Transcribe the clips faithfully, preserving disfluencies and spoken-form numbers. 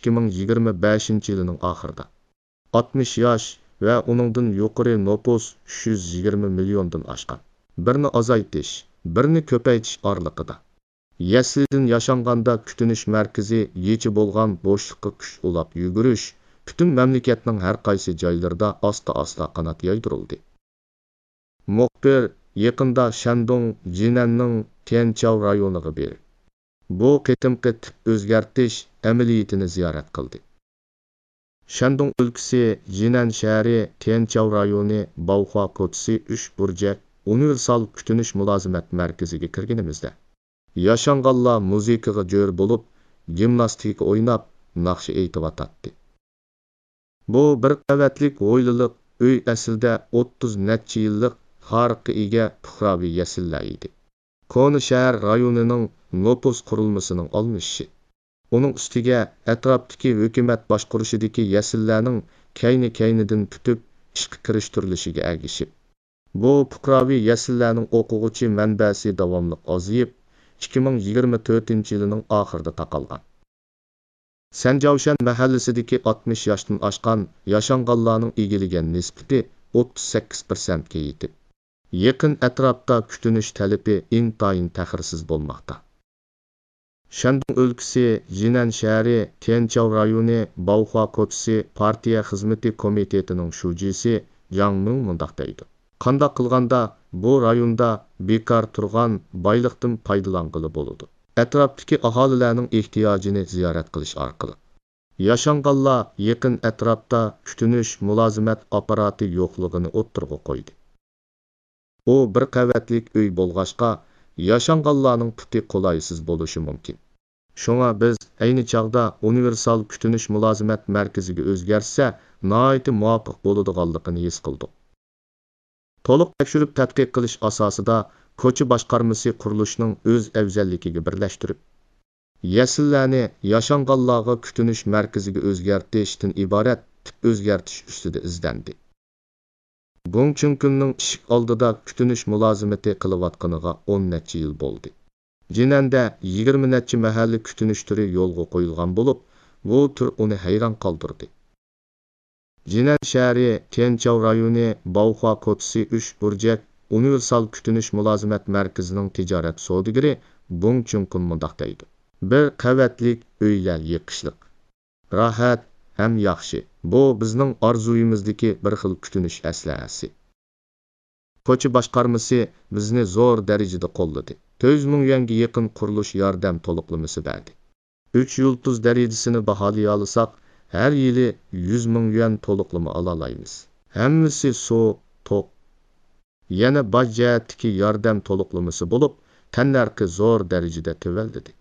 ئىككى مىڭ يىگىرمە بەشىنچى يىلىنىڭ ئاخىرىدا. ئاتمىش ياش ۋە ئۇنىڭدىن يۇقىرى نوپۇس ئۈچ يۈز يىگىرمە مىليوندىن ئاشقان. بىرنى ئازايتىش، بىرنى كۆپەيتىش ئارىلىقىدا. يەسلىدىن ياشانغاندا كۈتۈنۈش مەركىزى يېچە بولغان بوشلۇققا كۈچ ئۇلاپ يۈگۈرۈش پۈتۈن مەملىكەتنىڭ ھەر قايسى جايلىرىدا ئاستا-ئاستا قانات يايدۇرۇلدى. مۇخبىر يېقىندا شەندۇڭ جىنەننىڭ تيەنچاۋ رايونىغا بېرىپ، بۇ قېتىمقى تىپ ئۆزگەرتىش ئەمەلىيىتىنى زىيارەت قىلدى. شەندۇڭ ئۆلكىسى جىنەن شەھىرى تيەنچاۋ رايونى باۋخۇا كوچىسى ئۈچ بۇرجەك ئۇنىۋېرسال كۈتۈنۈش مۇلازىمەت مەركىزىگە كىرگىنىمىزدە، ياشانغانلار مۇزىكىغا جۆر بولۇپ، گىمناستىكا ئويناپ، ناخشا ئېيتىۋاتاتتى. بۇ بىر قەۋەتلىك ھويلىلىق ئۆي ئەسلىدە ئوتتۇز نەچچە يىللىق تارىخقا ئىگە پۇقراۋى يەسلىلەر ئىدى. كونا شەھەر رايونىنىڭ نوپۇس قۇرۇلمىسىنىڭ ئالمىشىشى، ئۇنىڭ ئۈستىگە ئەتراپتىكى ھۆكۈمەت باشقۇرۇشىدىكى يەسلىلەرنىڭ كەينى-كەينىدىن پۈتۈپ ئىشقا كىرىشتۈرۈلۈشىگە ئەگىشىپ، بۇ پۇقراۋى يەسلىلەرنىڭ ئوقۇغۇچى مەنبەسى داۋاملىق ئازىيىپ، ئىككى مىڭ يىگىرمە تۆتىنچى يىلىنىڭ ئاخىرىدا تاقالغان. سەنجاۋشەن مەھەللىسىدىكى ئاتمىش ياشتىن ئاشقان ياشانغانلارنىڭ ئىگىلىگەن نىسبىتى ئوتتۇز سەككىز پىرسەنتكە يېتىپ، يېقىن ئەتراپتا كۈتۈنۈش تەلىپى ئىنتايىن تەخىرسىز بولماقتا. شەندۇڭ ئۆلكىسى جىنەن شەھىرى تيەنچاۋ رايونى باۋخۇا كوچىسى پارتىيە خىزمىتى كومىتېتىنىڭ شۇجىسى جاڭ مىڭ مۇنداق دەيدۇ: قانداق قىلغاندا بۇ رايوندا بىكار تۇرغان بايلىقتىن پايدىلانغىلى بولىدۇ؟ ئەتراپتىكى ئاھالىلەرنىڭ ئېھتىياجىنى زىيارەت قىلىش ئارقىلىق، ياشانغانلار يېقىن ئەتراپتا كۈتۈنۈش مۇلازىمەت ئاپپاراتى يوقلۇقىنى ئوتتۇرىغا قويدى. ئۇ بىر قەۋەتلىك ئۆي بولغاچقا، ياشانغانلارنىڭ پۇتى قولايسىز بولۇشى مۇمكىن. شۇڭا بىز ئەينى چاغدا ئۇنىۋېرسال كۈتۈنۈش مۇلازىمەت مەركىزىگە ئۆزگەرتسە، ناھايىتى مۇۋاپىق بولىدىغانلىقىنى ھېس قىلدۇق. تولۇق تەكشۈرۈپ تەتقىق قىلىش ئاساسىدا، كوچا باشقارمىسى قۇرۇلۇشنىڭ ئۆز ئەۋزەللىكىگە بىرلەشتۈرۈپ، يەسلىلەرنى ياشانغانلارغا كۈتۈنۈش مەركىزىگە ئۆزگەرتىشتىن ئىبارەت تىپ ئۆزگەرتىش ئۈستىدە ئىزدەندى. گۇڭ چۈنكۈننىڭ ئىشىك ئالدىدا كۈتۈنۈش مۇلازىمىتى قىلىۋاتقىنىغا ئون نەچچە يىل بولدى. جىنەندە يىگىرمە نەچچە مەھەللە كۈتۈنۈش تۈرى يولغا قويۇلغان بولۇپ، بۇ تۈر ئۇنى ھەيران قالدۇردى. جىنەن شەھىرى تيەنچاۋ رايونى باۋخۇا كوچىسى ئۈچ بۇرجەك ئۇنىۋېرسال كۈتۈنۈش مۇلازىمەت مەركىزىنىڭ تىجارەت سودىگىرى بۇڭ چۈنكۈن مۇنداق دەيدۇ: بىر قەۋەتلىك ئۆيلەر يېقىشلىق، راھەت ھەم ياخشى. بۇ بىزنىڭ ئارزۇيىمىزدىكى بىر خىل كۈتۈنۈش ئەسلىھەسى. كوچا باشقارمىسى بىزنى زور دەرىجىدە قوللىدى. تۆت يۈز مىڭ يۈەنگە يېقىن قۇرۇلۇش ياردەم تولۇقلىمىسى بەردى. ئۈچ يۇلتۇز دەرىجىسىنى باھالىيالىساق، ھەر يىلى يۈز مىڭ يۈەن تولۇقلىما ئالالايمىز. ھەممىسى سۇ، توك، يەنە باج جەھەتتىكى ياردەم تولۇقلىمىسى بولۇپ، تەننەرخى زور دەرىجىدە تۆۋەنلىدى.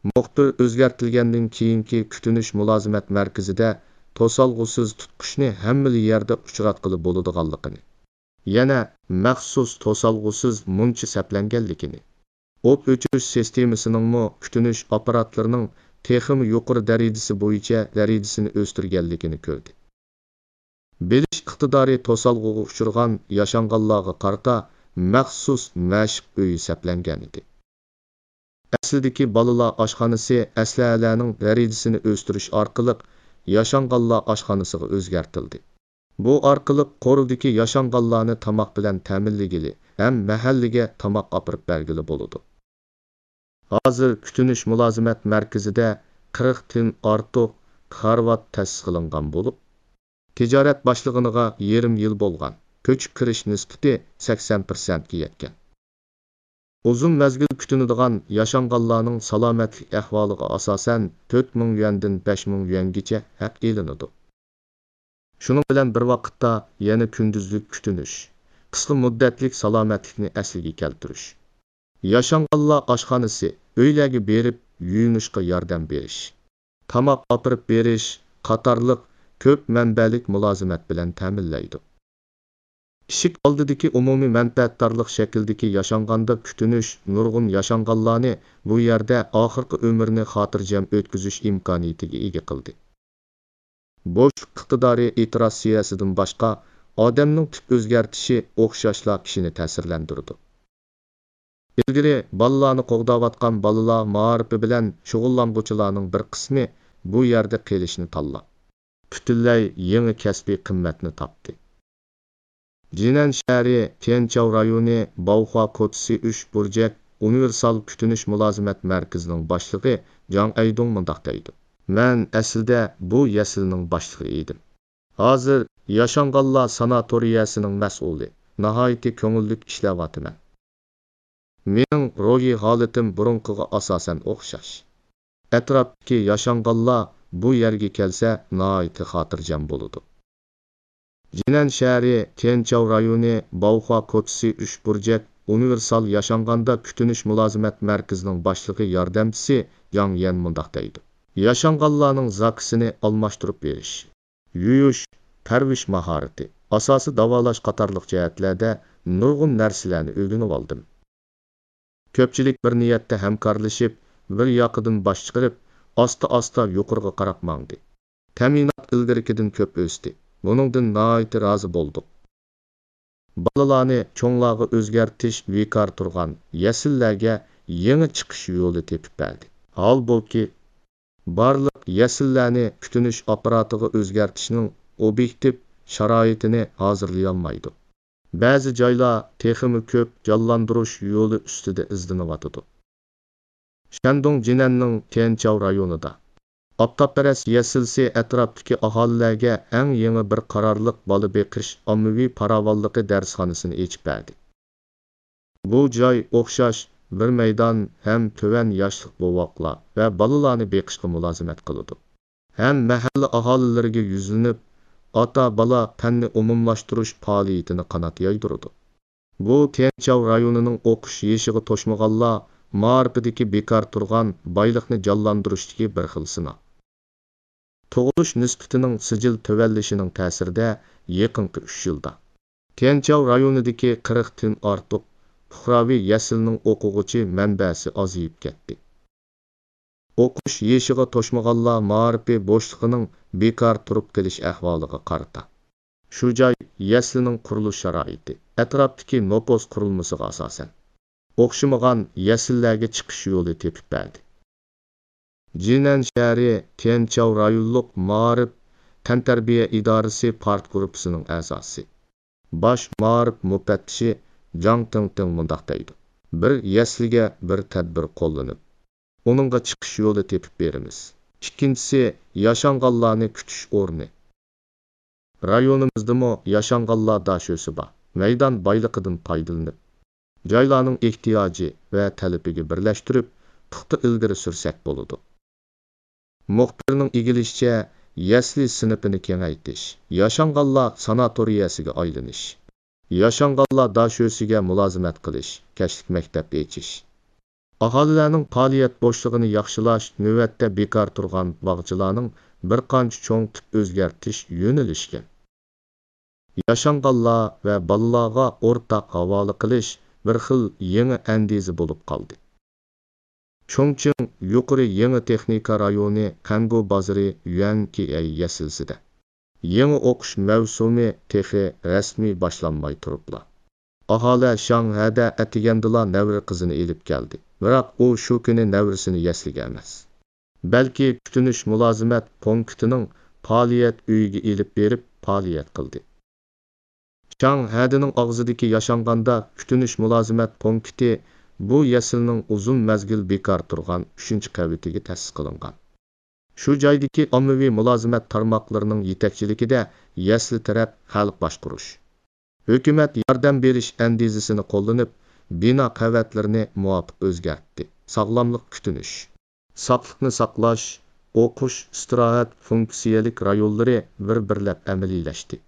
مۇخبىر ئۆزگەرتىلگەندىن كېيىنكى كۈتۈنۈش مۇلازىمەت مەركىزىدە توسالغۇسىز تۇتقۇچنى ھەممىلا يەردە ئۇچراتقىلى بولىدىغانلىقىنى، يەنە مەخسۇس توسالغۇسىز مۇنچا سەپلەنگەنلىكىنى، ئوت ئۆچۈرۈش سىستېمىسىنىڭمۇ كۈتۈنۈش ئاپپاراتلىرىنىڭ تېخىمۇ يۇقىرى دەرىجىسى بويىچە دەرىجىسىنى ئۆستۈرگەنلىكىنى كۆردى. بىلىش ئىقتىدارى توسالغۇغا ئۇچرىغان ياشانغانلارغا قارىتا مەخسۇس مەشىق ئۆيى سەپلەنگەنىدى. ئەسلىدىكى بالىلار ئاشخانىسى ئەسلىھەلەرنىڭ دەرىجىسىنى ئۆستۈرۈش ئارقىلىق ياشانغانلار ئاشخانىسىغا ئۆزگەرتىلدى. بۇ ئارقىلىق قورۇدىكى ياشانغانلارنى تاماق بىلەن تەمىنلىگىلى ھەم مەھەللىگە تاماق ئاپىرىپ بەرگىلى بولىدۇ. ھازىر كۈتۈنۈش مۇلازىمەت مەركىزىدە قىرىقتىن ئارتۇق كارىۋات تەسىس قىلىنغان بولۇپ، تىجارەت باشلىغىنىغا يېرىم يىل بولغان. كۆچۈپ كىرىش نىسبىتى سەكسەن پىرسەنتكە يەتكەن. ئۇزۇن مەزگىل كۈتۈنىدىغان ياشانغانلارنىڭ سالامەتلىك ئەھۋالىغا ئاساسەن، تۆت مىڭ يۈەندىن بەش مىڭ يۈەنگىچە ھەق ئېلىنىدۇ. شۇنىڭ بىلەن بىر ۋاقىتتا، يەنە كۈندۈزلۈك كۈتۈنۈش، قىسقا مۇددەتلىك سالامەتلىكنى ئەسلىگە كەلتۈرۈش، ياشانغانلار ئاشخانىسى، ئۆيلەرگە بېرىپ يۇيۇنۇشقا ياردەم بېرىش، تاماق ئاپىرىپ بېرىش قاتارلىق كۆپ مەنبەلىك مۇلازىمەت بىلەن تەمىنلەيدۇ. ئىشىك ئالدىدىكى ئومۇمىي مەنپەئەتدارلىق شەكلىدىكى ياشانغاندا كۈتۈنۈش نۇرغۇن ياشانغانلارنى بۇ يەردە ئاخىرقى ئۆمرىنى خاتىرجەم ئۆتكۈزۈش ئىمكانىيىتىگە ئىگە قىلدى. بوشلۇق ئىقتىدارى ئېتىراز سىياسىتىدىن باشقا، ئادەمنىڭ تىپ ئۆزگەرتىشى ئوخشاشلا كىشىنى تەسىرلەندۈرىدۇ. ئىلگىرى بالىلارنى قوغداۋاتقان بالىلار مائارىپى بىلەن شۇغۇللانغۇچىلارنىڭ بىر قىسمى بۇ يەردە قېلىشنى تاللاپ، پۈتۈنلەي يېڭى كەسپىي قىممەتنى تاپتى. جىنەن شەھىرى تيەنچاۋ رايونى باۋخۇا كوچىسى ئۈچ بۇرجەك ئۇنىۋېرسال كۈتۈنۈش مۇلازىمەت مەركىزىنىڭ باشلىقى جاڭ ئەيدۇڭ مۇنداق دەيدۇ: مەن ئەسلىدە بۇ يەسلىنىڭ باشلىقى ئىدىم. ھازىر ياشانغانلار ساناتورىيەسىنىڭ مەسئۇلى، ناھايىتى كۆڭۈللۈك ئىشلەۋاتىمەن. مېنىڭ روھىي ھالىتىم بۇرۇنقىغا ئاساسەن ئوخشاش. ئەتراپتىكى ياشانغانلار بۇ يەرگە كەلسە ناھايىتى خاتىرجەم بولىدۇ. جىنەن شەھىرى تيەنچاۋ رايونى باۋخۇا كوچىسى ئۈچ بۇرجەك ئۇنىۋېرسال ياشانغاندا كۈتۈنۈش مۇلازىمەت مەركىزىنىڭ باشلىقى ياردەمچىسى جاڭ يەن مۇنداق دەيدۇ: ياشانغانلارنىڭ زاكىسىنى ئالماشتۇرۇپ بېرىش، يۇيۇش، پەرۋىش ماھارىتى، ئاساسىي داۋالاش قاتارلىق جەھەتلەردە نۇرغۇن نەرسىلەرنى ئۆگىنىۋالدىم. كۆپچىلىك بىر نىيەتتە ھەمكارلىشىپ، بىر ياقىدىن باش چىقىرىپ، ئاستا-ئاستا يۇقىرىغا قاراپ ماڭدى. تەمىنات ئىلگىرىكىدىن كۆپ ئۆستى. بۇنىڭدىن ناھايىتى رازى بولدۇق. بالىلارنى چوڭلارغا ئۆزگەرتىش بىكار تۇرغان يەسلىلەرگە يېڭى چىقىش يولى تېپىپ بەردى. ھالبۇكى، بارلىق يەسلىلەرنى كۈتۈنۈش ئاپپاراتىغا ئۆزگەرتىشنىڭ ئوبيېكتىپ شارائىتىنى ھازىرلىيالمايدۇ. بەزى جايلار تېخىمۇ كۆپ جانلاندۇرۇش يولى ئۈستىدە ئىزدىنىۋاتىدۇ. شەندۇڭ جىنەننىڭ تيەنچاۋ رايونىدا ئاپتاپپەرەس يەسلىسى ئەتراپتىكى ئاھالىلەرگە ئەڭ يېڭى بىر قارارلىق بالا بېقىش ئاممىۋى پاراۋانلىقى دەرسخانىسىنى ئېچىپ بەردى. بۇ جاي ئوخشاش بىر مەيدان ھەم تۆۋەن ياشلىق بوۋاقلار ۋە بالىلارنى بېقىشقا مۇلازىمەت قىلىدۇ. ھەم مەھەللە ئاھالىلىرىگە يۈزلىنىپ، ئاتا-بالا پەننى ئومۇملاشتۇرۇش پائالىيىتىنى قانات يايدۇرىدۇ. بۇ تيەنچاۋ رايونىنىڭ ئوقۇش يېشىغا توشمىغانلار مائارىپىدىكى بىكار تۇرغان بايلىقنى جانلاندۇرۇشتىكى بىر خىل سىناق. تۇغۇلۇش نىسبىتىنىڭ سىجىل تۆۋەنلىشىنىڭ تەسىرىدە يېقىنقى ئۈچ يىلدا تيەنچاۋ رايونىدىكى قىرىقتىن ئارتۇق پۇقراۋى يەسلىنىڭ ئوقۇغۇچى مەنبەسى ئازىيىپ كەتتى. ئوقۇش يېشىغا توشمىغانلار مائارىپى بوشلۇقىنىڭ بىكار تۇرۇپ قېلىش ئەھۋالىغا قارىتا، شۇ جاي يەسلىنىڭ قۇرۇلۇش شارائىتى، ئەتراپتىكى نوپۇس قۇرۇلمىسىغا ئاساسەن، ئوخشىمىغان يەسلىلەرگە چىقىش يولى تېپىپ بەردى. جىنەن شەھىرى تيەنچاۋ رايونلۇق مائارىپ تەنتەربىيە ئىدارىسى پارتگۇرۇپپىسىنىڭ ئەزاسى، باش مائارىپ مۇپەتتىشى جاڭ تىڭتىڭ مۇنداق دەيدۇ: بىر يەسلىگە بىر تەدبىر قوللىنىپ، ئۇنىڭغا چىقىش يولى تېپىپ بېرىمىز. ئىككىنچىسى، ياشانغانلارنى كۈتۈش ئورنى. رايونىمىزدىمۇ ياشانغانلار داشۆسى بار. مەيدان بايلىقىدىن پايدىلىنىپ، جايلارنىڭ ئېھتىياجى ۋە تەلىپىگە بىرلەشتۈرۈپ، پۇختا ئىلگىرى سۈرسەك بولىدۇ. مۇخبىرنىڭ ئىگىلىشىچە، يەسلى سىنىپىنى كېڭەيتىش، ياشانغانلار ساناتورىيەسىگە ئايلىنىش، ياشانغانلار داشۆسىگە مۇلازىمەت قىلىش، كەچلىك مەكتەپ ئېچىش، ئاھالىلەرنىڭ پائالىيەت بوشلۇقىنى ياخشىلاش نۆۋەتتە بىكار تۇرغان باغچىلارنىڭ بىر قانچە چوڭ تىپ ئۆزگەرتىش يۆنىلىشكەن. ياشانغانلار ۋە بالىلارغا ئورتاق ھاۋالە قىلىش بىر خىل يېڭى ئەندىزە بولۇپ قالدى. چۇڭچىڭ يۇقىرى يېڭى تېخنىكا رايونى قەنگۇ بازىرى يۈەنكېئەي يەسلىسىدە يېڭى ئوقۇش مەۋسۇمى تېخى رەسمىي باشلانماي تۇرۇپلا، ئاھالە شاڭھەدە ئەتىگەندىلا نەۋرە قىزىنى ئېلىپ كەلدى. بىراق ئۇ شۇ كۈنى نەۋرىسىنى يەسلىگە ئەمەس، بەلكى كۈتۈنۈش مۇلازىمەت پونكىتىنىڭ پائالىيەت ئۆيىگە ئېلىپ بېرىپ پائالىيەت قىلدى. شاڭ ھەدىنىڭ ئاغزىدىكى ياشانغاندا كۈتۈنۈش مۇلازىمەت پونكىتى بۇ يەسلىنىڭ ئۇزۇن مەزگىل بىكار تۇرغان ئۈچىنچى قەۋىتىگە تەسىس قىلىنغان. شۇ جايدىكى ئاممىۋى مۇلازىمەت تارماقلىرىنىڭ يېتەكچىلىكىدە يەسلى تەرەپ خەلق باشقۇرۇش، ھۆكۈمەت ياردەم بېرىش ئەندىزىسىنى قوللىنىپ، بىنا قەۋەتلىرىنى مۇۋاپىق ئۆزگەرتتى. ساغلاملىق كۈتۈنۈش، ساقلىقنى ساقلاش، ئوقۇش، ئىستىراھەت فۇنكسىيەلىك رايونلىرى بىر-بىرلەپ ئەمەلىيلەشتى.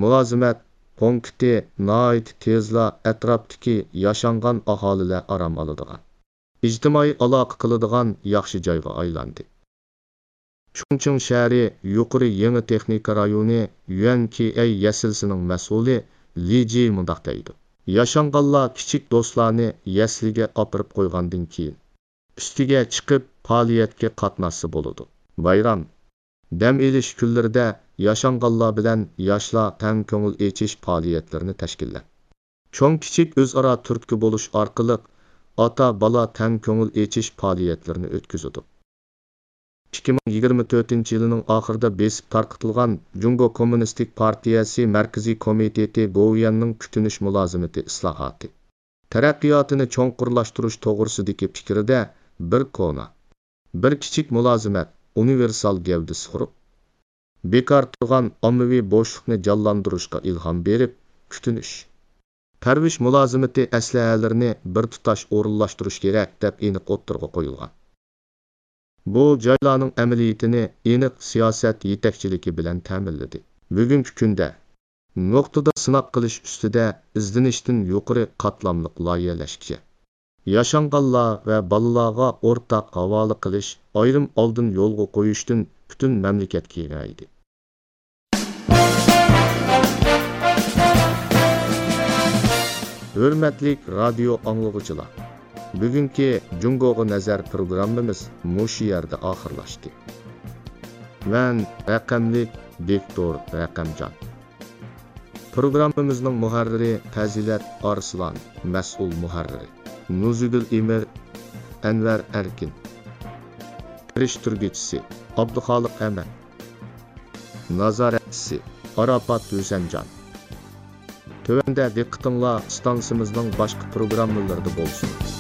مۇلازىمەت پونكىتى ناھايىتى تېزلا ئەتراپتىكى ياشانغان ئاھالىلەر ئارام ئالىدىغان، ئىجتىمائىي ئالاقە قىلىدىغان ياخشى جايغا ئايلاندى. چۇڭچىڭ شەھىرى يۇقىرى يېڭى تېخنىكا رايونى يۈەنكېئەي يەسلىسىنىڭ مەسئۇلى لى جى مۇنداق دەيدۇ: ياشانغانلار كىچىك دوستلارنى يەسلىگە ئاپىرىپ قويغاندىن كېيىن، ئۈستىگە چىقىپ پائالىيەتكە قاتناشسا بولىدۇ. بايرام، دەم ئېلىش كۈنلىرىدە ياشانغانلار بىلەن ياشلار تەڭ كۆڭۈل ئېچىش پائالىيەتلىرىنى تەشكىللەپ، چوڭ-كىچىك ئۆزئارا تۈرتكە بولۇش ئارقىلىق ئاتا-بالا تەڭ كۆڭۈل ئېچىش پائالىيەتلىرىنى ئۆتكۈزىدۇ. ئىككى مىڭ يىگىرمە تۆتىنچى يىلىنىڭ ئاخىرىدا بېسىپ تارقىتىلغان جۇڭگو كوممۇنىستىك پارتىيەسى مەركىزىي كومىتېتى گوۋۇيۈەننىڭ كۈتۈنۈش مۇلازىمىتى ئىسلاھاتى، تەرەققىياتىنى چوڭقۇرلاشتۇرۇش توغرىسىدىكى پىكرىدە بىر كونا، بىر كىچىك مۇلازىمەت ئۇنىۋېرسال گەۋدىسى قۇرۇپ، بىكار تۇرغان ئاممىۋى بوشلۇقنى جانلاندۇرۇشقا ئىلھام بېرىپ، كۈتۈنۈش، پەرۋىش مۇلازىمىتى ئەسلىھەلىرىنى بىر تۇتاش ئورۇنلاشتۇرۇش كېرەك، دەپ ئېنىق ئوتتۇرىغا قويۇلغان. بۇ جايلارنىڭ ئەمەلىيىتىنى ئېنىق سىياسەت يېتەكچىلىكى بىلەن تەمىنلىدى. بۈگۈنكى كۈندە نۇقتىدا سىناق قىلىش ئۈستىدە ئىزدىنىشتىن يۇقىرى قاتلاملىق لايىھەلەشكە، ياشانغانلار ۋە بالىلارغا ئورتاق ھاۋالە قىلىش، ئايرىم ئالدىن يولغا قويۇشتىن پۈتۈن مەملىكەت كېڭەيدى. ھۆرمەتلىك رادىيو ئاڭلىغۇچىلار، بۈگۈنكى جۇڭگوغا نەزەر پروگراممىمىز مۇشۇ يەردە ئاخىرلاشتى. مەن رەقەملىك دىكتور رەقەمجان. پروگراممىمىزنىڭ مۇھەررىرى پەزىلەت ئارسلان، مەسئۇل مۇھەررىرى نۇزۇگۈل ئىمىر، ئەنۋەر ئەركىن، كىرىشتۈرگۈچىسى ئابدۇخالىق ئەمەت، نازارەتچىسى ئاراپات ھۈسەنجان. تۆۋەندە دىققىتىڭلار ئىستانسىمىزنىڭ باشقا پروگراممىلىرىدا بولسۇن.